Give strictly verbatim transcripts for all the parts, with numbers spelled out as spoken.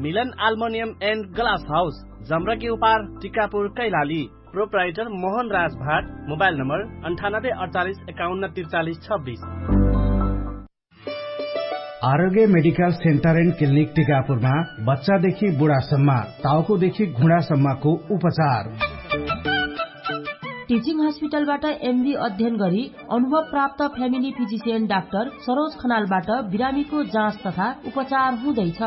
हिलन आल्मोनियम end glass house, जम्रकी उपार, टिकापुर कैलाली। प्रोपराइटर मोहन राज भाट। मोबाइल नम्बर अन्ठानब्बे अडचालिस एकाउन्न त्रिचालिस छब्बिस। आरोग्य मेडिकल सेन्टर एन्ड क्लिनिक टिकापुरमा बच्चादेखि बुढासम्म, ताउकोदेखि घुँडासम्मको उपचार। टिचिङ हस्पिटलबाट एमबी अध्ययन गरी अनुभव प्राप्त फ्यामिली फिजिसियन डाक्टर सरोज खनालबाट बिरामीको जाँच तथा उपचार हुँदैछ।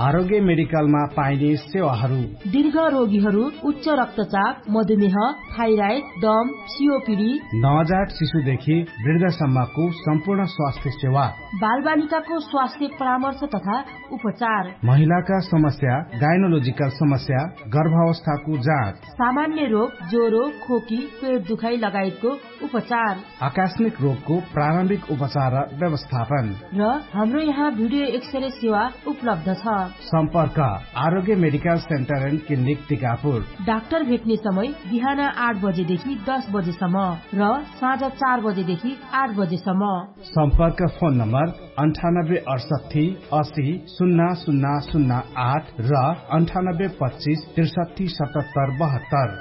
आरोग्य मेडिकलमा पाइने सेवाहरू। दीर्घ रोगीहरू, उच्च रक्तचाप, मधुमेह, थाइराइड, दम, सिओपिडी, नवजात शिशुदेखि वृद्धसम्मको सम्पूर्ण स्वास्थ्य सेवा। बालबालिकाको स्वास्थ्य परामर्श तथा उपचार। महिलाका समस्या, गाइनोलोजिकल समस्या, गर्भावस्थाको जाँच। सामान्य रोग, ज्वरो, खोकी, पेट दुखाइ लगायतको उपचार। आकस्मिक रोगको प्रारम्भिक उपचार र व्यवस्थापन। र हाम्रो यहाँ भिडियो एक्सरे सेवा उपलब्ध छ। सम्पर्क, Arogya medical centre and clinic Tikapur. Doctor भेट्ने समय बिहान आठ बजेदेखि दस बजेसम्म र साँझ चार बजेदेखि आठ बजेसम्म। सम्पर्क फोन नम्बर अन्ठानब्बे अडसट्ठी असी सुन्ना सुन्ना सुन्ना आठ र अन्ठानब्बे पच्चिस त्रिसट्ठी सतहत्तर बहत्तर।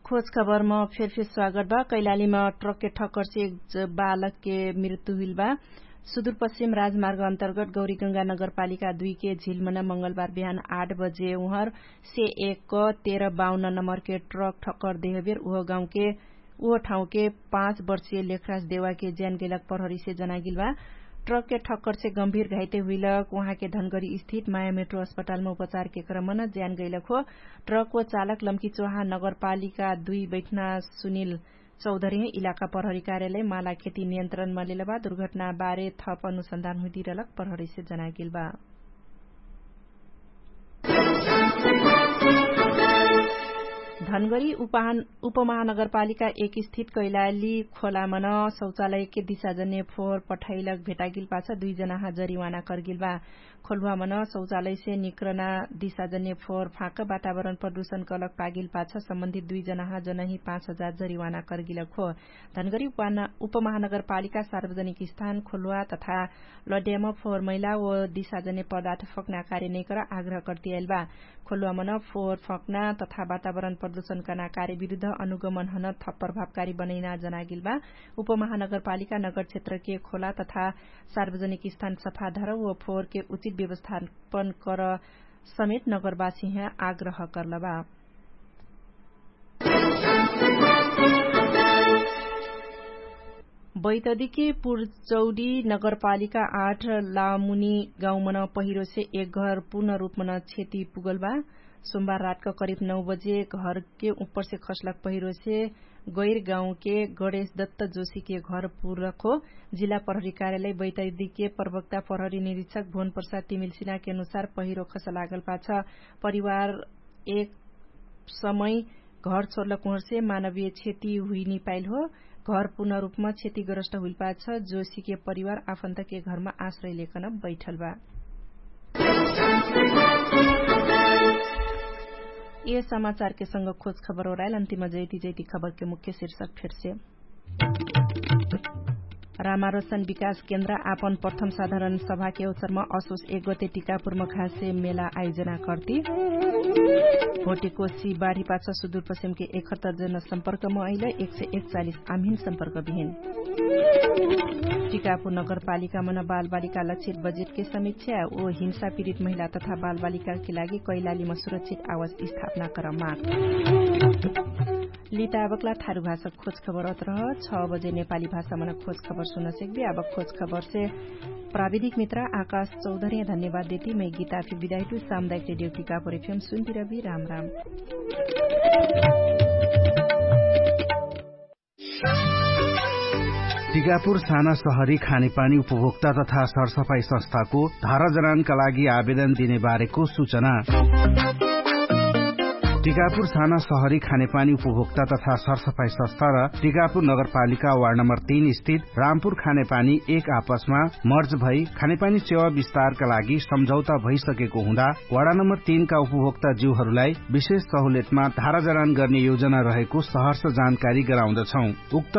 खोज खबरमा फेरफेर स्वागत बा। कैलालीमा ट्रकके ठक्करसे एक बालकके मृत्यु हुइल बा। सुदूरपश्चिम राजमार्ग अन्तर्गत गौरीगंगा नगरपालिका दुईके झिलमना मंगलबार बिहान आठ बजे उहर से एक क तेह्र बाउन्न नम्बरके ट्रक ठक्कर देहबेर उह गाउँके उह ठाउँके पाँच वर्षीय लेखराज देवाके ज्यान गैलक प्रहरीसे जनागिल बा। ट्रकके ठक्करसे गम्भीर घाइते हुइलक उहाँके धनगरी स्थित माया मेट्रो अस्पतालमा उपचारके क्रमन ज्यान गैलक हो। ट्रक व चालक लम्की चोहा नगरपालिका दुई बैठना सुनिल चौधरी इलाका प्रहरी कार्यालय माला खेती नियन्त्रणमा लेलबा। दुर्घटना बारे थप अनुसन्धान हुइदिरलक प्रहरीसे जनागेलबा। धनगरी उपमहानगरपालिका एक स्थित कैलाली खोलामन शौचालयके दिशाजन्य फोहर पठाइलक भेटागिल पाछ दुई जनाहा जरिवाना कर्गिलबा। खोलुवामन शौचालयसे निक्रना दिशाजन्य फोहर फाँक वातावरण प्रदूषण कलक पागिल पाछ सम्बन्धित दुई जनाहा जनही पाँच हजार जरिवाना कर्गिलक हो। धनगरी उपमहानगरपालिका सार्वजनिक स्थान खोलुवा तथा लड्याम फोहर मैला व दिशाजन्य पदार्थ फक्ना कार्य नैकर आग्रह कर्तियाइलबा। खोलुवामन फोहर फक्ना तथा वातावरण प्रदूषण कर्ना कार्य विरुद्ध अनुगमनहन थप प्रभावकारी बनैना जनागिलबा। उपमहानगरपालिका नगर क्षेत्रके खोला तथा सार्वजनिक स्थान सफाधर व फोहरके उचित व्यवस्थापन कर समेत नगरवासीह आग्रह कर्लबा। बैतदीके पुर्चौडी नगरपालिका आठ लामुनी गाउँमन पहिरोसे एक घर पूर्ण रूपमन क्षति पुगलबा। सोमबार रातक करिब नौ बजे घरके उपरसे खसलक पहिरोसे गैर गाउँके गणेश दत्त जोशीके घर पुरखो। जिल्ला प्रहरी कार्यालय बैतैदीके प्रवक्ता प्रहरी निरीक्षक भुवन प्रसाद तिमिलसिनाके अनुसार पहिरो खसलागल पाछ परिवार एक समय घर छोडलक उहरसे मानवीय क्षति हुइनी पाइल हो। घर पूर्ण रूपमा क्षतिग्रस्त हुइल पाछ जोशीके परिवार आफन्तके घरमा आश्रय लेकन बैठल बा। ए समाचारके संग खोज खबर ओराइल अन्तिम जैती जैती खबरके मुख्य शीर्षक फेरसे। रामारोसन विकास केन्द्र आपन प्रथम साधारण सभाके अवसरमा असोस एक गते टिकापुरमा खासे मेला आयोजना कर्ति। भोटेकोसी बाढी पाछ सुदूरपश्चिमके एकहत्तर जन सम्पर्कमा अइल एक सय एकचालिस आम्हिन सम्पर्क बिहिन। टिकापुर नगरपालिकामन बालबालिका लक्षित बजेटके समीक्षा ओ हिंसा पीडित महिला तथा बालबालिकाके लागि कैलालीमा सुरक्षित आवास स्थापना क्रममा। लिताबकला थारु भाषा खोज खबर अत्रह छ बजे नेपाली भाषामन खोज खबर सुनसेकबे। आबक खोज खबरसे प्राविधिक मित्र आकाश चौधरी धन्यवाद देती मै गीता फिर विदाइटु सामुदायिक रेडियो टिकापुर एफएम सुन्तिरबी। राम राम। टिकापुर साना सहरी खानेपानी उपभोक्ता तथा सरसफाई संस्थाको धारा जनानका लागि आवेदन दिने बारेको सूचना। टिकापुर साना सहरी खानेपानी उपभोक्ता तथा सरसफाई संस्था र टिकापुर नगरपालिका वार्ड नम्बर तीन स्थित रामपुर खानेपानी एक आपसमा मर्ज भई खानेपानी सेवा विस्तारका लागि सम्झौता भइसकेको हुँदा वार्ड नम्बर तीनका उपभोक्ता ज्यूहरूलाई विशेष सहुलियतमा धारा जनान गर्ने योजना रहेको सहर्ष जानकारी गराउँदछौं। उक्त